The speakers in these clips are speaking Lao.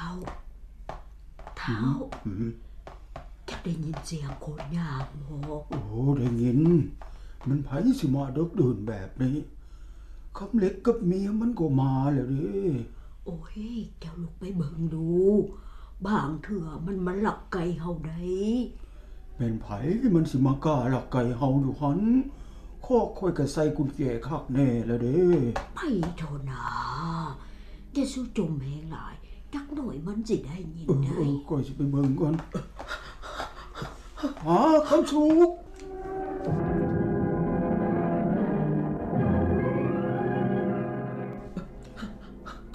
ເຖົ້າ ເຖົ້າ ຫືມ ຈັກໄດ້ຍິນສຽງຄົນຍ່າງບໍ່? ໂອ້ ໄດ້ຍິນ. ມັນໃຜຊິມາເດິກດື່ນແບບນີ້? ຄຳເຫຼັກກັບເມຍມັນກໍມາແລ້ວເດ້. ໂອ້ຍ ເຈົ້າລຸກໄປເບິ່ງດູ, ບາງເທື່ອມັນມາລັກໄກ່ເຮົາໄດ໋. ແມ່ນໃຜມັນຊິມາກ້າລັກໄກ່ເຮົາຢູ່ຫັ້ນ? ຄອກຂ້ອຍກໍໃສ່ກຸນແຈຄັກແນ່ແລ້ວເດ້. ໄປເຖາະນາ, ຢ່າສູ່ຈົ່ມແຮງຫຼາຍ, ຈັກໜ້ອຍມັນຊິໄດ້ຍິນໄດ໋. ເອີ ຂ້ອຍຊິໄປເບິ່ງກ່ອນ. ຫາ ຄຳສຸກ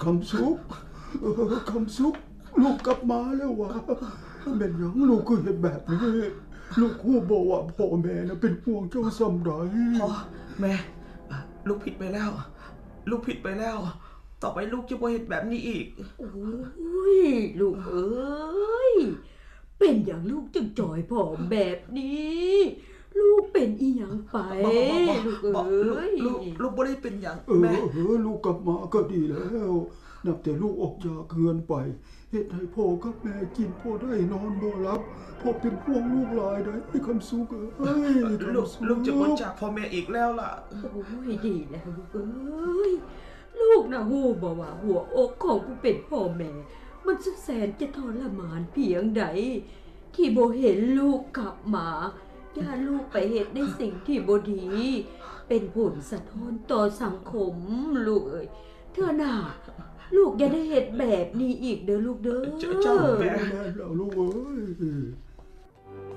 ຄຳສຸກ ເອີ ຄຳສຸກ ລູກກັບມາແລ້ວຫວາ? ແມ່ນຫຍັງລູກຄືເຮັດແບບນີ້? ລູກຮູ້ບໍ່ວ່າພໍ່ແມ່ນະເປັນຫ່ວງເຈົ້າສ່ຳໃດ? ພໍ່ ແມ່ ລູກຜິດໄປແລ້ວ, ລູກຜິດໄປແລ້ວ. ຕໍ່ໄປລູກຈະບໍ່ເຮັດແບບນີ້ອີກ. ໂອ້ຍ ລູກເອີຍ, ເປັນຫຍັງລູກຈຶ່ງຈ່ອຍຜອມແບບນີ້? ລູກເປັນອີ່ຫຍັງໄປ? ບໍ່ ບໍ່ ບໍ່ ລູກເອີຍ ລູກ ລູກ ລູກບໍ່ໄດ້ເປັນຫຍັງ ເອີ ແມ່. ເອີ ລູກກັບມາກໍດີແລ້ວ. ນັບແຕ່ລູກອອກຈາກເຮືອນໄປ ເຮັດໃຫ້ພໍ່ກັບແມ່ກິນບໍ່ໄດ້ນອນບໍ່ຫຼັບ, ພໍ່ເປັນຫ່ວງລູກຫຼາຍໃດ໋ ຄຳສຸກເອີຍ. ລູກ ຄຳສຸກ ລູກຈະບໍ່ຈາກພໍ່ແມ່ອີກແລ້ວລະ. ໂອ້ຍ ດີແລ້ວລູກເອີຍ. ລູກນະຮູ້ບໍ່ວ່າຫົວອົກຂອງຜູ້ເປັນພໍ່ແມ່ ມັນສຸດແສນຈະທໍລະມານພຽງໃດ ທີ່ບໍ່ເຫັນລູກກັບມາ. ຢ້ານລູກໄປເຮັດໃນສິ່ງທີ່ບໍ່ດີ ເປັນຜົນສະທ້ອນຕໍ່ສັງຄົມ ລູກເອີຍ. ເທື່ອໜ້າ ລູກຢ່າໄດ້ເຮັດແບບນີ້ອີກເດີລູກເດີ. ເຈົ້າ ເຈົ້າແມ່. ແມ່ນແລ້ວລູກເອີຍ.